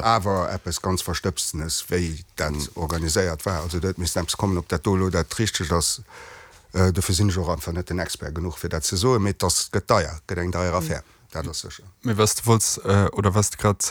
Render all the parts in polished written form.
Awer eppes ganz Verstëbstenes, wéi dat organiséiert war. Also do huet missten eppes kommen. Ob dat do elo dat Richtegt ass, dofir sinn ech och einfach net den Expert genuch, fir dat ze soen. Mee et ass, gëtt deier, gëtt eng deier Affär, dat ass sécher. Mee wat s de wollts, oder wat s de grad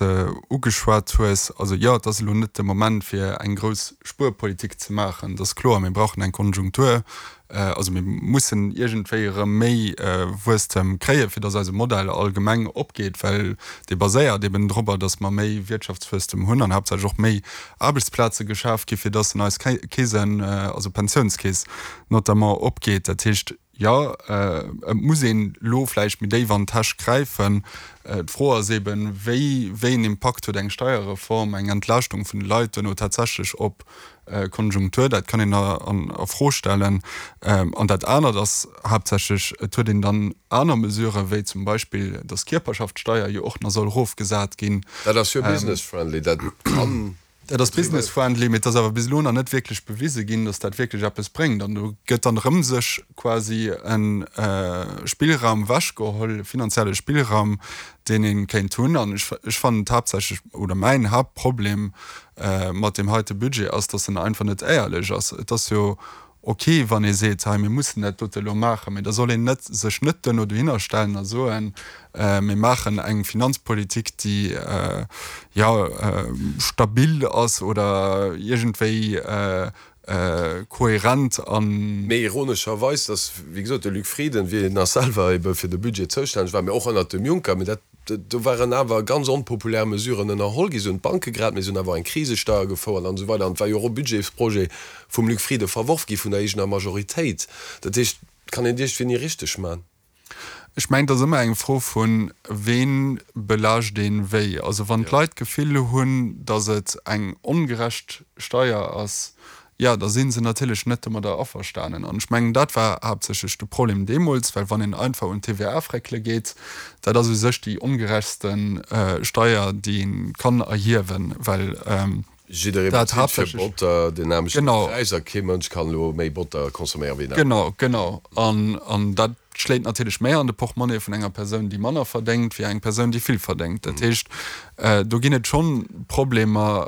ugeschwat hues, also jo, et ass elo net de Moment, fir eng grouss Spuerpolitik ze maachen, dat ass kloer. Mir brauchen eng Konjunktur, Also mir mussen iergendwéi erëm méi Wuesstem kréien, fir dass eise Modell allgemeng opgeet, well dee baséiert eben dorobber, dass mer méi Wirtschaftswuesstem hunn an haaptsächlech och méi Aarbechtsplaze geschaf gi fir dass en eis Keesen, also Pensiounskeess notamment, opgeet. Dat heescht, jo, et muss een elo vläicht méi déif an d'Täsch gräifen. D'Fro ass eben, wéi, wéi een Impakt huet eng Steierreform, eng Entlaaschtung vun de Leit duerno tatsächlech op Konjunktur, dat kann een a Fro stellen. An dat anert ass haaptsächlech, et huet een dann aner Mesuren, wéi zum Beispill, dass d'Kierperschaftssteier jo och nach soll erofgesat ginn. Dat ass jo business-friendly, dat kann. Dat ass business-friendly, mee et ass awer bis elo nach net wierklech bewise ginn, dass dat wierklech eppes bréngt. An do gëtt dann erëm sech quasi e Spillraum ewechgeholl, e finanzielle Spillraum, deen ee kéint hunn. An ech fannen et haaptsächlech, oder mäin Haaptproblem mat deem heite Budget ass, dass en einfach net éierlech ass. Et ass jo ok, wann ee seet, hei mir mussen dat dote elo maachen, mee da soll een net sech net duerno dohinner stellen a soen, mir maachen eng Finanzpolitik, déi jo stabil ass oder iergendwéi kohärent an. Mee ironescherweis, dass, wéi gesot, de Luc Frieden, wéi en nach selwer ebe fir de Budget zoustänneg war, mee och ënnert dem Juncker, mee dat, do waren awer ganz onpopulär Mesuren ënnerholl gi, se hunn d'Banke gerett, mee se hunn awer och eng Krisesteier gefouert an esou weider. An et war jo och e Budgetsprojet vum Luc Frieden verworf gi vun der eegener Majoritéit. Dat heescht, et kann een iergendwéi ni richteg man. Ech mengen, et ass ëmmer eng Fro vun, ween belaascht een wéi. Also wann d'Leit d'Gefill hunn, datt et eng ongerecht Steier ass, jo, da si se natierlech net domadder averstanen. An ech mengen, dat war haaptsächlech de Problem deemools, well wann een einfach un d'TVA fréckele geet, dat ass u sech déi ongerechtste Steier, déi ee kann erhiewen, well Jidderee dat bezilt fir haaptsächlech. Botter den nämlechten Genau. Präis a kee Mënsch kann elo méi Botter consomméieren wéi en aneren. Genau, genau. An, an dat schléit natierlech méi an de Portmonnaie vun enger Persoun, déi manner verdéngt, wéi eng Persoun, déi vill verdéngt. Dat heescht, do ginn et schonn Problemer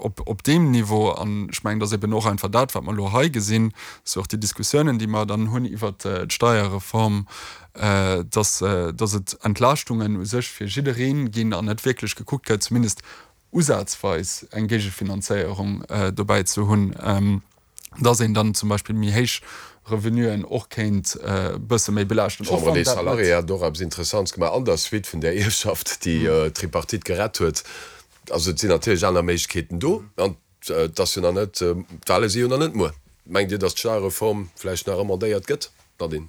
op, op deem Niveau. An ech mengen, et ass eben och einfach dat, wat mer elo hei gesinn, dass och déi Diskussiounen, déi mer dann hunn iwwert d'Steierreform, dass, dass et Entlaaschtungen u sech fir jidderee ginn an net wierklech gekuckt gëtt, zumindest usazweis eng Géigefinanzéierung dobäi ze hunn, dass een dann zum Beispill méi héich Revenuen och kéint e bësse méi belaaschten, och wann dat net. D'Chambre des Salariés hat och eppes Interessants gemaach an der Suite vun där Ierfschaft, déi d'Tripartite gerett huet. Also et sinn natierlech aner Méiglechkeeten do an et ass jo nach net, d'Wale si jo nach net muer. Mengt Dir, datt d'Steierreform vläicht nach amendéiert gëtt, Nadine,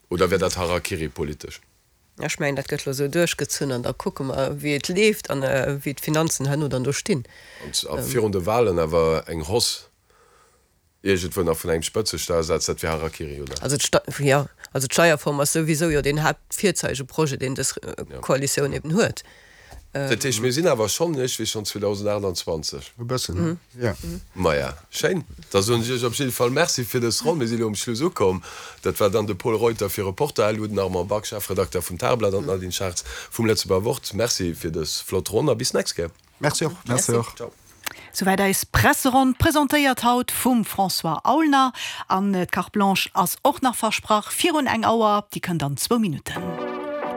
oder wär dat Harakiri politesch? Ech mengen, dat gëtt elo esou duerchgezunn an da kucke mer, wéi et leeft an wéi d'Finanzen herno dann do stinn. A virun de Wahlen awer eng Hausse iergendwou nach vun engem Spëtzesteuersaz, dat wier Harakiri, oder? Also jo, also d'Steierform ass souwisou jo deen Haaptvirzeigeprojet, deen dës Koalitioun eben huet. Dat heescht, mir sinn awer schonn iergendwéi schonn 2028. E bëssen, jo. Maja, schéin. Da soen ech Iech op jidde Fall Merci fir dës Ronn. Mir sinn elo um Schluss ukomm. Dat war dann de Pol Reuter fir Reporter-LU, den Armand Back, Chefredakter vum Tageblatt an d'Nadine Schartz vum Lëtzebuerger Wort. Merci fir dës flott Ronn a bis d'nächst Kéier. Merci och. Merci och. Ciao. Souwäit eis Presseronn, presentéiert haut vum François Aulner. An d'Carte Blanche ass och nach versprach virun eng Auer. Déi kënnt an zwou Minutten.